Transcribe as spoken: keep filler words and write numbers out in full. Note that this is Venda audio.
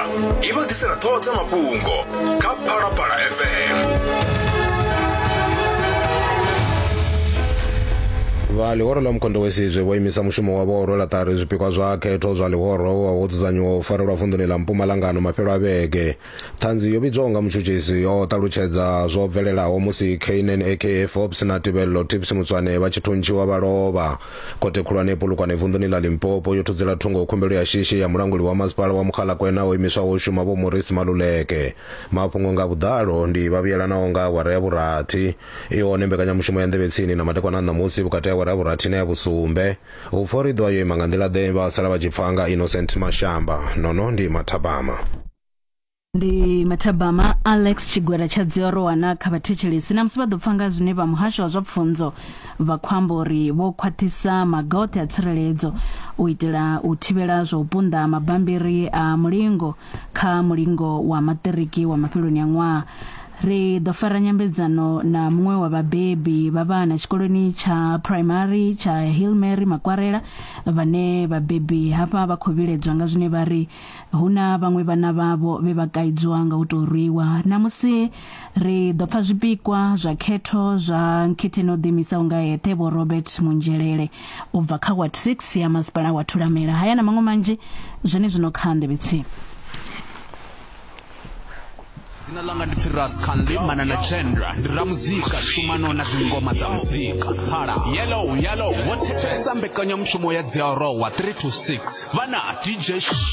I vha ḓisela ṱhoho dza mafhungo kha Phalaphala F M. Vha ḽihoro ḽa Mkhonto weSizwe vho imisa mushumo wavho wa u rwela ṱari zwipikwa zwa khetho zwa ḽihoro wa wo dzudzanyiwa u farelwa vunḓuni ḽa Mpumalanga ano mafhelo a vhege. Ṱhanzi yo vhidzwaho nga mutshutshisi o ṱalutshedza zwo bvelelaho musi Keynan aka Forbes na Tebello Tips Mutswane vha tshi thuntshiwa vha lovha. Khothe khulwane Polokwane vunḓuni ḽa Limpopo yo thudzela thungo khumbelo ya shishi ya mulanguli wa masipala wa Mogalakwena o imiswaho u shuma Vho Maurice Maluleke. Mafhungo nga vhuḓalo ndi vha vhuyelanaho nga awara ya vhurathi. I hone mbekanyamushumo ya nḓevhe tsini na madekwana a ṋamusi vhukati ha awara ya vhurathi na ya vhusumbe. U pfa uri ḓo yo ima nga nḓila ḓe vha sala vha tshi pfa nga Innocent Mashamba. Nono ndi Mathabama. Ndi Mathabama Alex Tshigwera tsha dziorowana kha vhathetshelesi na musi vha ḓo pfa nga zwine vha muhasho wa zwa pfunzo vha khou amba uri vho khwaṱhisa maga oṱhe a tsireledzo u itela u thivhela zwa u punḓa mabambiri a mulingo kha mulingo wa maṱiriki wa mafheloni a ṅwaha. Ri ḓo fara nyambedzano na muṅwe wa vhabebi vha vhana tshikoloni tsha primary tsha Hillmary Makwarela, vhane vhabebi hafha vha khou vhiledzwa nga zwine vha ri hu na vhaṅwe vhana vhavho vhe vha kaidzwa nga u tou rwiwa. Namusi ri ḓo pfa zwipikwa zwa khetho zwa nkhetheni o ḓiimisaho nga eṱhe Vho Robert Munzhelele u bva kha Ward six ya masipala wa Thulamela. Haya na maṅwe manzhi zwenezwino kha nḓevhe tsini. Dzina ḽanga ndi pfi Ras Khanli Manana Chandra, ndi ramuzika shumano na dzingoma dza muzika. Phala yellow yellow vho thetshelesa mbekanyamushumo ya dziarowa three to six vhana D J